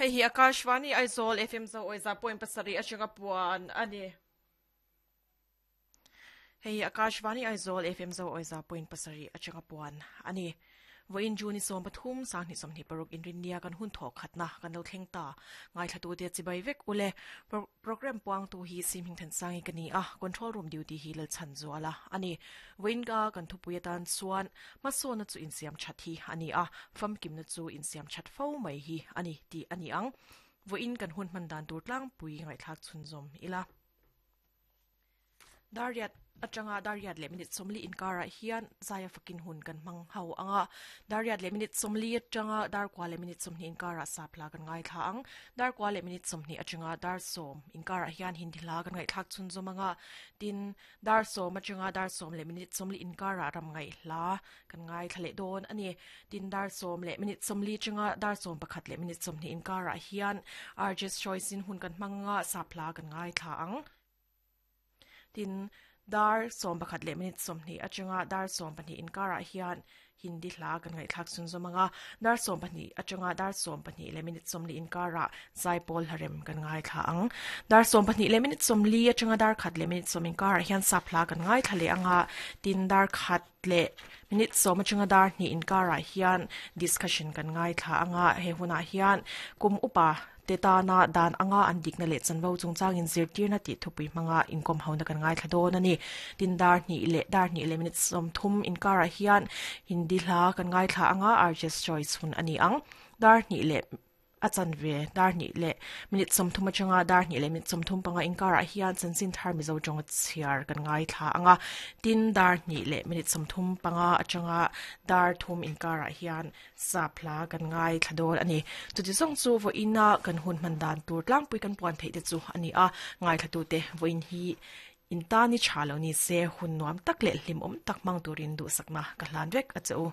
Hei hi Akashvani Aizawl FM Zo Awiza point pasarih atanga puan a ni. Hei hi Akashvani Aizawl FM Zo Awiza point pasarih atanga puan a ni. Vawiin June i 13, 2026 inrinnia kan hun thawh khatna kan lo thleng ta. Ngaithlatute chibai vek ule. Programme puangtu hi Sim Hmingthansangi ka ni a, Control Room duty hi Lalchhanzuala a ni. Vawiin ka kan thupui atan chuan hmasawnna chu insiam that hi a ni a, famkimna chu insiam that fo mai hi a ni tih a ni ang. Vawiin kan hun hman dan tur tlangpui ngaihthlak chhunzawm ila. Dariat atanga Dariat leh minute 40 inkarah hian Zaia fakin hun kan hmang ho ang a. Dariat leh minute 40 atanga Darkua leh minute 20 inkarah Sapla kan ngaithla ang. Darkua leh minute 20 atanga Dar 10 inkarah hian Hindi hla kan ngaihthlak chhunzawm ang a. Tin, Dar 10 atanga Dar 10 leh minute 40 inkarah ram ngaih hla kan ngaithla leh dawn a ni. Tin, Dar 10 leh minute 40 atanga Dar 11 leh minute 20 inkarah hian RJ's Choice in hun kan hmang ang a, Sapla kan ngaithla ang. Tin, dar 11 leh minute 20 atanga dar 12 inkarah hian Hindi hla kan ngaihthlak chhunzawm ang a, dar 12 atanga dar 12 leh minute 40 inkarah Zaipawl hlarem kan ngaithla ang. Dar 12 leh minute 40 atanga dar khat leh minute 10 inkarah hian sap hla kan ngaithla leh ang a, tin dar khat leh minute 10 atanga dar hnih inkarah hian discussion kan ngaithla ang a, he hunah hian kum upa te tana dan anga an dikna leh chanvo chungchangin zirtirna tih thupui hmanga inkawm hona kan ngaithla dawn a ni. Tin dar hnih leh dar hnih leh minute 30 inkarah hian Hindi hla kan ngaithla anga Arjus Choice hun a ni ang. Dar hnih leh a chanve dar hnih leh minute 30 atanga dar hnih leh minute 35 inkarah hian chanchin thar Mizo tawnga chhiar kan ngaithla anga tin dar hnih leh minute 35 atanga dar thum inkarah hian Sap hla kan ngaithla dawn a ni. Chuti zawng chu vawiina kan hun hman dan tur tlangpui kan puan theih te chu a ni a, ngaithlatute vawiin hi in tan i tha lo ni se hun nuam tak leh hlimawm tak hmang turin duhsakna ka hlan vek a che u.